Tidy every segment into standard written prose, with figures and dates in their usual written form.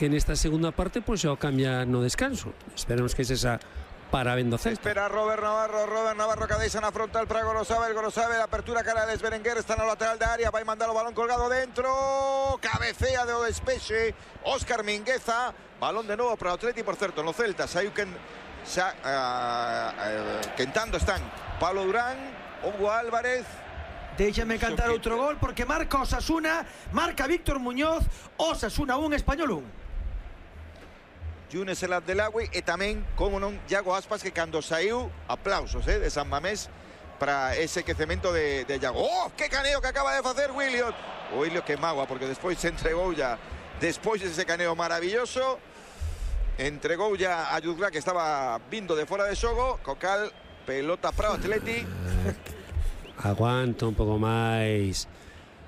que nesta segunda parte pois xa o cambia no descanso. Esperemos que esa para vendo Celta. Espera Robert Navarro que deixa na frontal para Gorosabel, a apertura cara de Berenguer, está no lateral da área, vai mandar o balón colgado dentro, cabecea de o despexe Óscar Mingueza, balón de novo para o Atleti, por certo, no Celta saiu quentando están Pablo Durán, Hugo Álvarez. Déixame cantar outro gol porque marca Osasuna, marca Víctor Muñoz, Osasuna 1, Español 1. Yunes El Abdelawi e tamén, como non, Iago Aspas, que cando saiu, aplausos de San Mamés para ese quecemento de Iago. ¡Oh, qué caneo que acaba de facer Williot! O Williot que magua, porque despois se entregou ya, despois dese caneo maravilloso, entregou ya a Yudla, que estaba vindo de fora de xogo, co cal, pelota para o Atleti. Aguanta un pouco máis,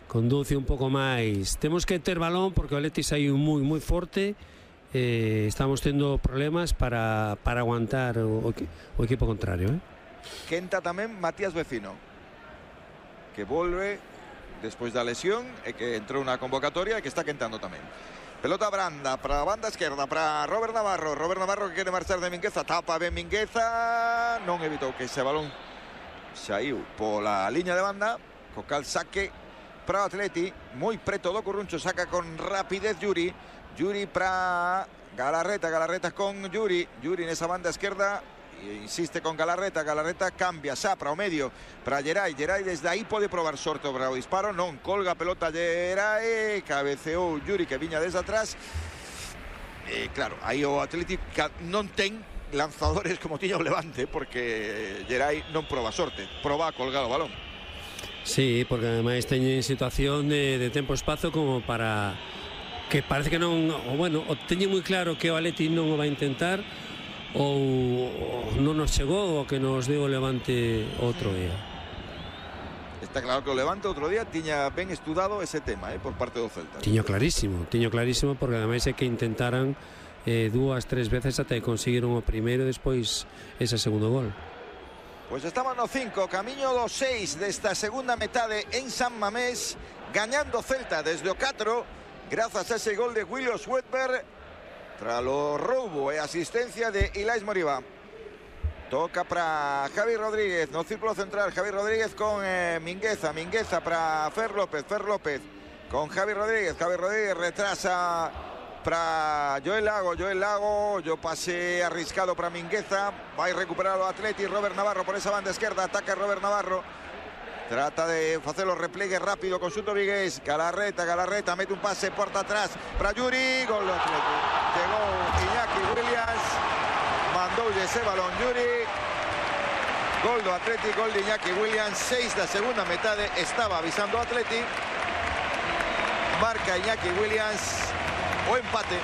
conduce un pouco máis, temos que ter balón porque o Atleti saiu moi forte. Estamos tendo problemas para aguantar o equipo contrario. Quenta tamén Matías Vecino, que volve despois da lesión e que entrou na convocatoria e que está quentando tamén. Pelota branda para a banda esquerda para Robert Navarro que quere marchar de Mingueza, tapa ben Mingueza, non evitou que ese balón saiu pola liña de banda, co cal saque para o Atleti, moi preto do Curruncho, saca con rapidez Yuri para Galarreta con Yuri nesa banda esquerda, insiste con Galarreta cambia xa para o medio para Geray desde aí pode probar sorte para o disparo, non colga a pelota Geray, cabeceou Yuri que viña desde atrás, claro, aí o Atlético non ten lanzadores como tiña o Levante, porque Geray non proba sorte, proba a colgar o balón. Sí, porque ademais teñen situación de tempo-espazo como para que parece que non, o bueno, o teñen moi claro que o Atleti non o vai intentar ou non nos chegou o que nos deu o Levante outro día. Está claro que o Levante outro día tiña ben estudado ese tema por parte do Celta. Tiño clarísimo porque ademais é que intentaran 2-3 veces até conseguiron o primeiro e despois ese segundo gol. Pois estamos no 5, camiño do 6 desta segunda metade en San Mamés, gañando Celta desde o 4 grazas a ese gol de William Swedberg tras o roubo e asistencia de Ilais Moriba. Toca para Javi Rodríguez no círculo central, Javi Rodríguez con Mingueza para Fer López con Javi Rodríguez retrasa para Joel Lago, yo pase arriscado para Mingueza, vai recuperar o Atleti, Robert Navarro por esa banda esquerda, ataca Robert Navarro. Trata de hacer los repliegues rápido con Suto Vigués. Galarreta mete un pase puerta atrás para Yuri. Gol do Atleti. Llegó Iñaki Williams. Mandou ese balón Yuri. Gol do Atleti, gol de Iñaki Williams. 6 da segunda metade. Estaba avisando o Atleti. Marca Iñaki Williams. O empate.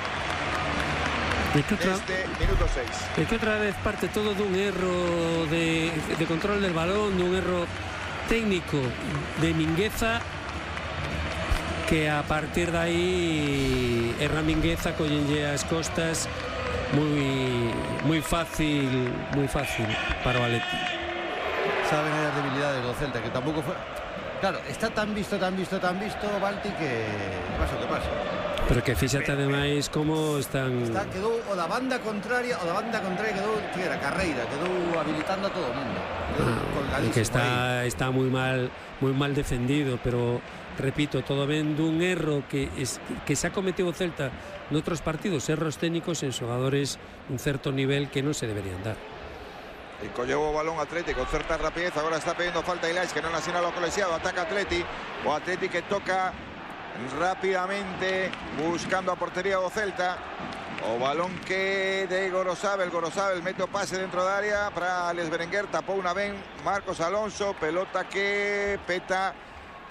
Este minuto 6. É que outra vez parte todo dun erro de control del balón, dun erro técnico de Mingueza, que a partir de aí erra Mingueza, collenlle as costas moi fácil para o Atleti. Saben as debilidades do Celta, que tampouco foi. Claro, está tan visto Balti, que pasa o que pasa. Pero que fíxate ademais como están. Quedou o da banda contraria quedou, que era carreira, quedou habilitando a todo o mundo. Que está moi mal defendido, pero repito, todo ven dun erro que se ha cometido o Celta noutros partidos, erros técnicos en xogadores un certo nivel que non se deberían dar. E colleu o balón Atleti con certa rapidez, agora está pedindo falta Ilais, que non asinala o colexiado, ataca Atleti, o Atleti que toca rápidamente buscando a portería do Celta. O balón que de Gorosabel mete o pase dentro da área para Alex Berenguer, tapou unha ben Marcos Alonso, pelota que peta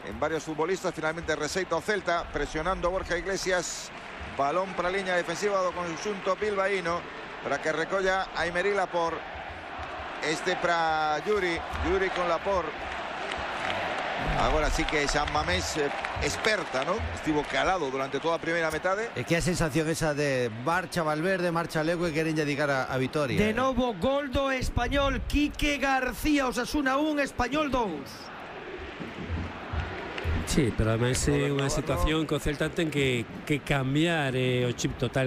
en varios futbolistas, finalmente receita o Celta, presionando Borja Iglesias, balón para a liña defensiva do conxunto bilbaíno, para que recolla a Aymeric Laporte, este para Yuri con Laporte. Agora sí que San Mamés experta, ¿no? Estivo calado durante toda a primeira metade. E que a sensación esa de marcha Valverde, marcha Legue, queren dedicar a vitoria. De novo gol do Español, Quique García, Osasuna 1, Español 2. Sí, pero además é Roberto unha Navarro. situación que o Celta ten que cambiar o chip total